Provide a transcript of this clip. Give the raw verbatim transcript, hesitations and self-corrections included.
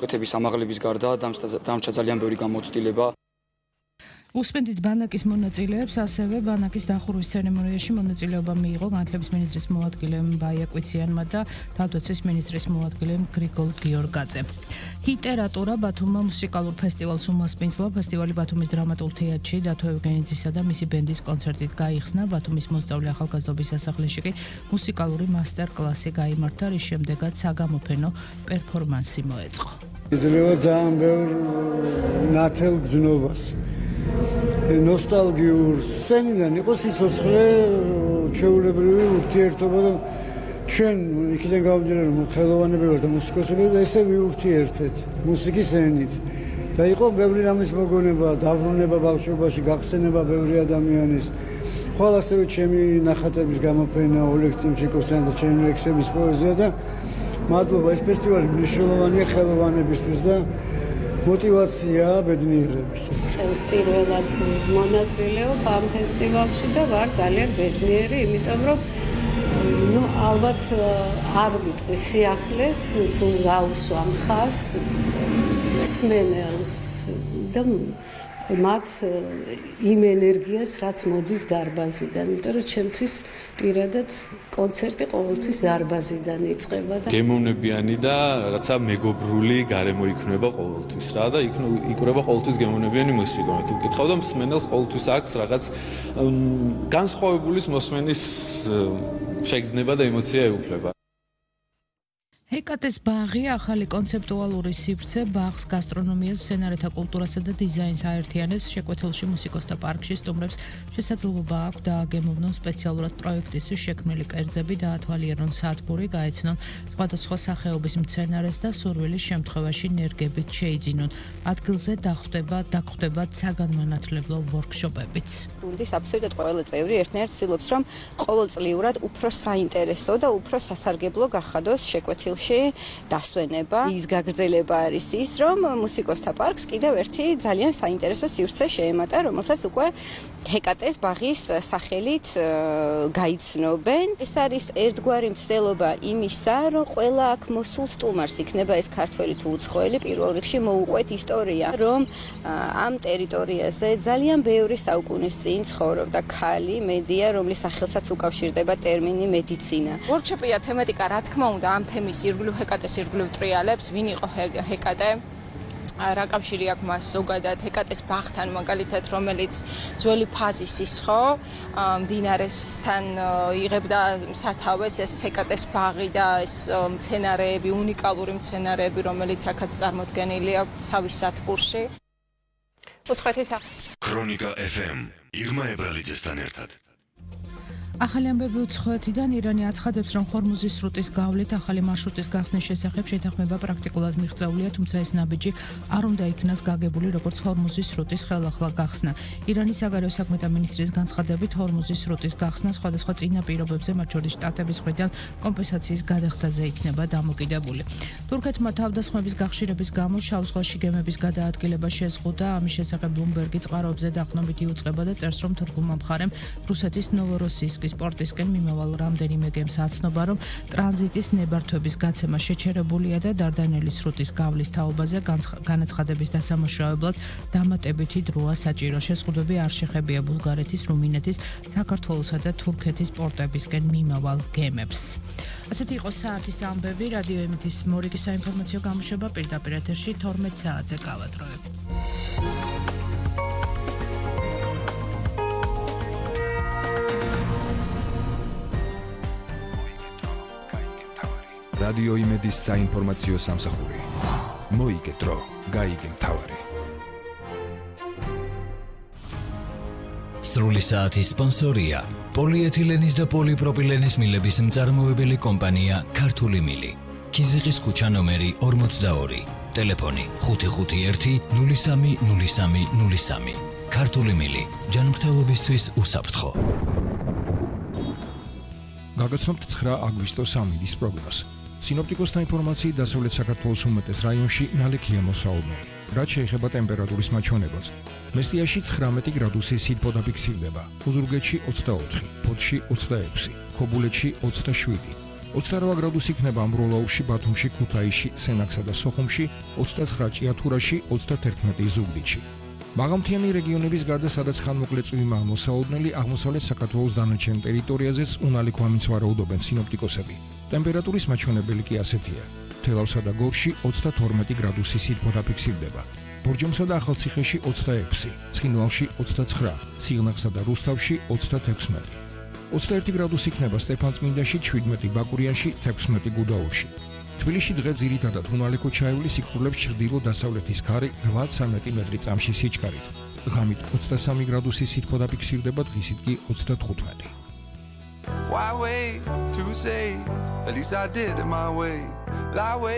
კეთების ამაღლების გარდა დამჭა ძალიან ბევრი გამოცდილება. უსმენთ ბანაკის მონაწილეებს, ასევე ბანაკის დახურვის ცერემონიაში მონაწილეობა მიიღო განათლების მინისტრის მოადგილემ ბაია კვიციანმა და თავდაცვის მინისტრის მოადგილემ გრიგოლ გიორგაძემ. ლიტერატურა ბათუმმა მუსიკალურ ფესტივალს უმასპინძლა. ფესტივალი ბათუმის დრამატულ თეატრში დათო ევგენიძისა და მისი ბენდის კონცერტით გაიხსნა. ბათუმის მოსწავლე ახალგაზრდობის სასახლეში კი მუსიკალური მასტერ-კლასი გაიმართა, რის შემდეგაც საგამოფენო პერფორმანსი მოეწყო. იძლევა ძალიან ბევრ ნათელ გზნობას. ნოსტალგიურ სცენიდან იყო სიცოცხლე, ჩვეულებრივი ურთიერთობა და ჩვენ იქიდან გამომდინარე რომ ხელოვანები ვართ და მუსიკოსები და ესე ვიურთიერთეთ მუსიკის ენით. და იყო ბევრი რამის მოგონება, დაბრუნება ბავშვობაში, გახსენება ბევრი ადამიანის. ხვალ ასევე ჩემი ნახატების გამოფენა ოლეგ ტიმჩიკოვსთან და ჩემი ლექსების პოეზია და მადლობა, ეს ფესტივალი მნიშვნელოვანია ხელოვანებისთვის და мотивация ბედნიერების. წელს პირველად მონაწილეობ ამ ფესტივალში და ვარ ძალიან ბედნიერი, იმიტომ რომ ну ალბათ არ ვიტყვი სიახლეს თუ გავუსვამ ხას მსმენელს და მათ იმ ენერგიას რაც მოდის დარბაზიდან, იმიტომ რომ ჩემთვის პირადად კონცერტი ყოველთვის დარბაზიდან იწყება და გემოვნებიანი და რაღაცა მეგობრული გარემო იქნება ყოველთვის რა და იქნება ყოველთვის გემოვნებიანი მუსიკა. თუ გითხავ და მსმენელს ყოველთვის აქვს რაღაც განსხვავებული მოსმენის შეგრძნება და ემოცია ეუფლება. ჰეკატეს ბაღი ახალი კონცეპტუალური სივრცე ბაღს გასტრონომიას, სცენარეთა კულტურასა და დიზაინს აერთიანებს. შეკვეთილში მუსიკოსთა პარკში სტუმრებს შესაძლებლობა აქვს დააგემოვნონ სპეციალურად პროექტისთვის შექმნილი კერძები, დაათვალიერონ სათბური, გაეცნონ სხვადასხვა სახეობის მცენარეს და სურვილის შემთხვევაში ნერგებით შეიძინონ. ადგილზე დახვდება დაგხვდება საგანმანათლებლო ვორქშოპებიც. გუნდის აბსოლუტურად ყველა წევრი ერთნაირად ცდილობს, რომ ყოველწლიურად უფრო საინტერესო და უფრო სასარგებლო გახადოს შეკვეთილ დასვენება. ის გაგრძელება არის ის, რომ მუსიკოსთა პარკს კიდევ ერთი ძალიან საინტერესო სივრცე შეემატა, რომელსაც უკვე ჰეკატეს ბაღის სახელით გაიცნობენ. ეს არის ერთგვარი მცდელობა იმისა, რომ ყველა აქ მოსულ სტუმარს იქნება ეს ქართველი თუ უცხოელი პირველ რიგში მოუყვეთ ისტორია, რომ ამ ტერიტორიაზე ძალიან ბევრი საუკუნის წინ ცხოვრობდა ქალი მედია, რომლის სახელსაც უკავშირდება ტერმინი მედიცინა. ვორქშოპია თემატიკა, რა თქმა უნდა, ამ თემის ირგვლივ ჰეკატეს ირგვლივ ტრიალებს, ვინ იყო ჰეკატე, რა კავშირი აქვს მას ზოგადად ჰეკატეს ბაღთან, მაგალითად, რომელიც ძველი ფაზისის ხო, მდინარესთან იღებდა სათავეს ეს ჰეკატეს ბაღი და ეს მცენარეები, უნიკალური მცენარეები, რომელიც აქაც წარმოდგენილი აქვს თავის სათბურში. უცხოეთის ქრონიკა ეფ ემ ირმა ებრალიძესთან ერთად. ახალი ამბები უცხოეთიდან. ირანი აცხადებს, რომ ჰორმუზის სრუტის გავლით ახალი მარშრუტის გახსნის შესახებ შეთანხმება პრაქტიკულად მიღწეულია, თუმცა ეს ნაბიჯი არ უნდა იქნას გაგებული როგორც ჰორმუზის სრუტის ხელახლა გახსნა. ირანის საგარეო საქმეთა მინისტრის განცხადებით, ჰორმუზის სრუტის გახსნა სხვადასხვა წინა პირობებზე, მათ შორის შტატების მხრიდან კომპენსაციის გადახდაზე იქნება დამოკიდებული. თურქეთმა თავდასხმების გახშირების გამო შავ ზღვაში გემების გადაადგილება შეზღუდა. ამის შესახებ ბლუმბერგი წყაროებზე დაყრდნობით იუწყება და წერს, რომ თურქულმა მხარემ რუსეთის ნოვოროსიისკის სპორტისკენ მიმავალ რამდენიმე გემს აცნობა, რომ ტრანზიტის ნებართვების გაცემა შეჩერებულია და დარდანელის სრუტის გავლის თაობაზე განაცხადების დასამუშავებლად დამატებითი დროა საჭირო. შეზღუდვები არ შეხებია ბულგარეთის, რუმინეთის, საქართველოსა და თურქეთის პორტებისკენ მიმავალ გემებს. ასეთი იყო საათის ამბები. რადიო ემეთის მორიგი საინფორმაციო გამოშვება პირდაპირ ეთერში თორმეტ საათზე გავადროებით. რადიო იმედის საინფორმაციო სამსახური. მოიგე დრო, გაიგე მთავარი. სრული საათის სპონსორია პოლიეთილენის და პოლიპროპილენის მილების მწარმოებელი კომპანია ქართული მილი. ქიზიყის ქუჩა ნომერი ორმოცდაორი. ტელეფონი ხუთი ხუთი ერთი ნული სამი ნული სამი ნული სამი. ქართული მილი. ჯანმრთელობისთვის უსაფრთხო. გაგაცნობთ ცხრა აგვისტოს ამინდის პროგნოზს. სინოპტიკოსთა ინფორმაციით დასავლეთ საქართველოს უმეტეს რაიონში ნალექია მოსაუბნელი. რაც შეეხება ტემპერატურის მაჩვენებელს, მესტიაში ცხრამეტი გრადუსი სითბო დაფიქსირდება, ოზურგეთში ოცდაოთხი, ფოთში ოცდაექვსი, ქობულეთში ოცდაშვიდი, ოცდაოთხ გრადუსი იქნება ამბროლაურში, ბათუმში, ქუთაისში, სენაკსა და სოხუმში, ოცდაცხრა ჭიათურაში, ოცდაათერთმეტი ზუგდიდში. მაღალმთიანი რეგიონების გარდა, სადაც ხანმოკლე წვიმაა მოსაოდნელი, აღმოსავლეთ საქართველოს დანარჩენ ტერიტორიაზეც უნალი ქვამიც ვარაუდობენ სინოპტიკოსები. ტემპერატურის მაჩვენებელი კი ასეთია: თელავსა და გორში ოცდათორმეტი გრადუსი სითბო დაფიქსირდება. ბორჯომსა და ახალციხეში ოცდაექვსი, ცხინვალში ოცდაცხრა, სიღნაღსა და რუსთავში ოცდათექვსმეტი. ოცდაერთი გრადუსი იქნება სტეფანწმინდაში, შვიდმეტი ბაკურიანში, თექვსმეტი გუდაურში. თბილისში დღე ძირითადად უნალი ქოჩაეული სიკვდილებს ჩრდილო-დასავლეთის ქარი რვაცამეტი მეტრი წამში სიჩქარით. ღამით ოცდასამი გრადუსი სითბო დაფიქსირდება, დღისით კი ოცდათხუთმეტი. Why wait to say? At least I did it my way. Lie way